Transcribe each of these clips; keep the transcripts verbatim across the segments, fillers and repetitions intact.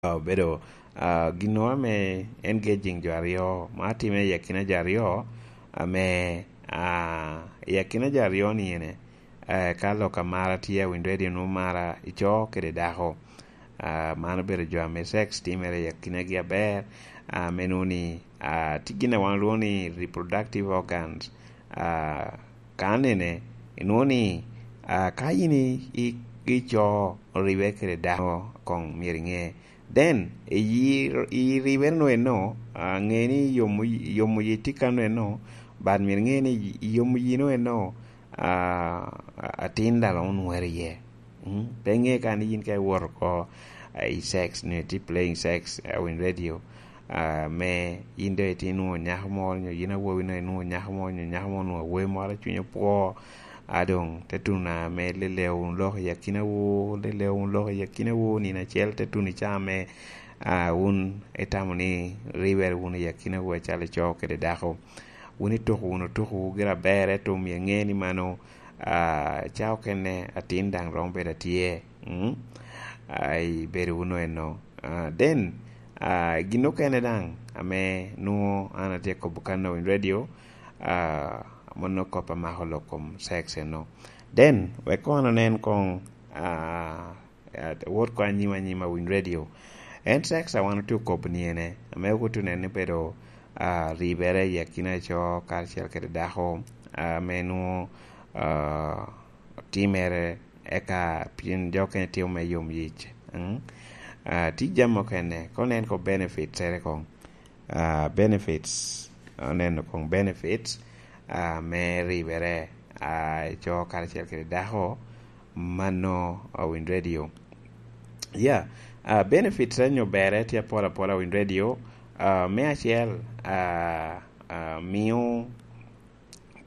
obedo, ah, ginnoro ame engaging jo aryo, ma atime i akina jo aryo, ame, ah, i akina jo aryo ni ene, eh, ka lok amara tye a Wind Radio, nwoŋo mara i co kede dako. Ah, man obedo jo ame sex timere i akinagi aber, ah, me nwoŋo ni, ah, tye gin a wan olwongo ni reproductive organs. Ah, ka nene, inwoŋo ni, ah, ka in i, i, i co oribe kede dako, koŋ myero iŋe. Then, i, i ribere no eno, ah, ŋe ni yomo, yomo yi tye kano eno, but myero iŋe ni yomo yi no eno, ah, atin daŋ romo nwere iye. Mm? Pe iŋe ka ni yin ka iwoto oko, ah, i sex, ni tye playing sex, ah, Wind Radio, ah, me yin doŋ itye nwoŋo nyako moro, nyo yin awobi no inwoŋo nyako moro, nyo nyako moro onwoŋo awobi moro, cunye opwo, a doŋ te tuno ame lelewu wunu lok i akinawu, lelewu wunu lok i akinawu, nino acel te tuno i caa ame, ah, wun itamo ni ribere wunu i akinawu acalo ico kede dako. Wun ituko wunu tukowu gira aber, ento myero iŋe ni mano, ah, ca okene atin daŋ romo bedo atye, mm? Ah, i bedo wunu eno. Ah, then, ah, gin okene daŋ ame nwoŋo an atye kobo kan i Wind Radio, ah, mano kop amako lok kom sex eno. Then, wek kono anen koŋ, ah, ah, wot koŋ anyim anyim a Wind Radio. En sex a wan otye okobo ni ene, ame okuto nen ni bedo, ah, ribere i akina co karacel kede dako, ah, ame nwoŋo, ah, timere eka pien jo okene timo me yom yic. Mm? Ah, tye jami okene, koŋ nen ko benefits ere koŋ. Ah, benefits, oneno koŋ benefits, ah, me ribere, ah, i co karacel kede dako, mano, ah, Wind Radio. Yeah, ah, benefits ene nyo berre tye apol apola Wind Radio. Ah, me acel, ah, ah, mio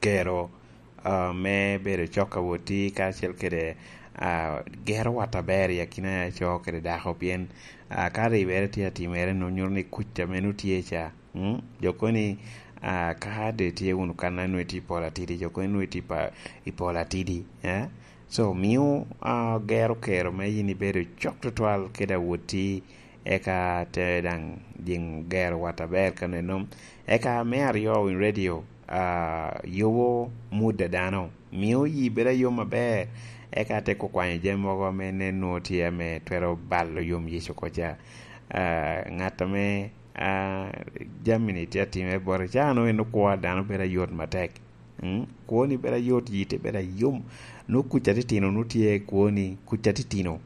kero, ah, me bedo cok awoti karacel kede, ah, gero wat aber i akina co kede dako, pien, ah, ka ribere tye atimere, nwoŋo nyuto ni kuc ame nwoŋo tye ca, mm, jo kono ni, ah, ka de tye wunu kan a nwoŋo itye i pol atidi, jo kono ni nwoŋo itye pa-, i pol atidi, eh? So, mio, ah, gero kero me yin ibedo cok tutwal kede awoti, eka te daŋ jiŋ gero wat aber kaneno. Eka me aryo, Wind Radio, ah, yubo mood a dano, mio yi bedo ayom aber, eka te kukwanyo jami mogo ame nen nwoŋo tye ame twero balo yom yic oko ca. Ah, ŋat ame, ah, jami-ni tye atimere bote, ca nwoŋo en okwo a dano bedo ayot matek. Mm? Kwoni bedo ayot, yite bedo ayom. Nwoŋo kuc atitino nwoŋo tye kwoni, kuc atitino.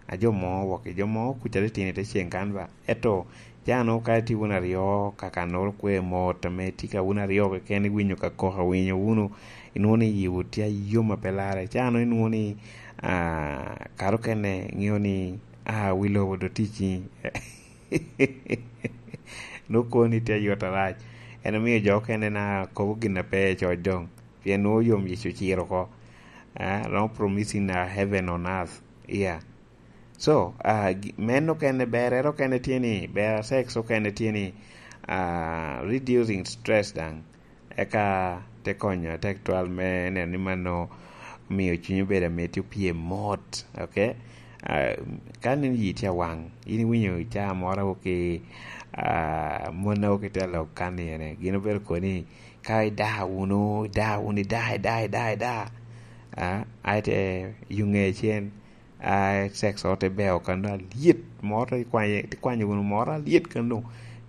A jo mo wok, jo mo kuc atitino i te ceŋ kan ba. Ento, ca nwoŋo ka itye wun aryo, ka kannoro kwe mot, ame tye ka wun aryo keken iwinyo ka kok awinyo wunu, inwoŋo ni yiwu tye ayom a pe larre. Ca nwoŋo inwoŋo ni, ah, kare okene iŋeo ni, ah, wi lobo do ticci. Nwoŋo kwoni tye ayot arac. En omio jo okene na kobo gin a pe i coc doŋ. Pien nwoŋo yom yic ociro oko. Ah, romo promising, ah, heaven on earth. Yeah. So, ah, gi-, meno okene, berre okene tye ni, ber sex okene tye ni, ah, reducing stress daŋ. Eka te konyo atek twal me neno ni mano omio cunyi obedo amiti, opye mot, okay? Ah, ka nino yi tye awaŋ, in iwinyo caa moro awoki, ah, mon awoki te lok kan ni ene, gin obedo koni, ka ida wunu, ida wunu, ida, ida, ida, ida. Ah, aye te yuŋe cen, ah, sex ote beo kano alyet, moro te kwanyo, te kwanyo wunu moro alyet kano.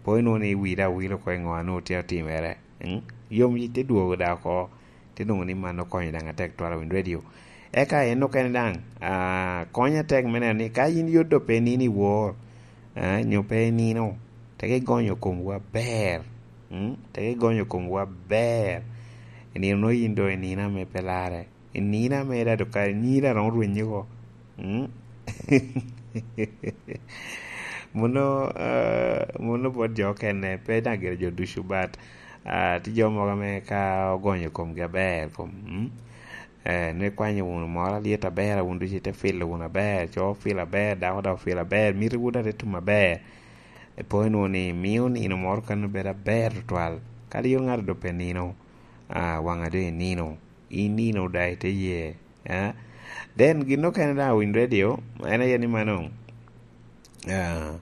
Po inwoŋo ni iwilo awila oko i ŋo a nwoŋo tye otimere. Mm? Yom yic te dwogo da oko, te nwoŋo ni man okonyo daŋ atek twal a Wind Radio. Eka en okene daŋ, ah, konyo atek me neno ni ka in yot do pe nino i wor, ah, nyo pe inino, teke igonyo komwu aber. Mm? Teke igonyo komwu aber. I nino nwoŋo in do i nino ame pe larre. I nino ame da do kare nyira romo rwenye oko. Mm? Muno, ah, muno bot jo okene, pe daŋ gire jo ducu, but, ah, tye jo mogo ame ka ogonyo komgi aber, kom, mm? Eh, nwoŋo ikwanyo wunu moro alyet aber, wun ducu ite filo wunu aber, co ofilo aber, dako daŋ ofilo aber, mitiwu daŋ te tum aber. Epo inwoŋo ni mio nino moro kano bedo aber tutwal. Kadi yot ŋato doŋ pe nino, ah, waŋa doŋ inino. Inino daŋ ite ye, eh? Then gin okene daŋ a Wind Radio, en aye ni mano, ah,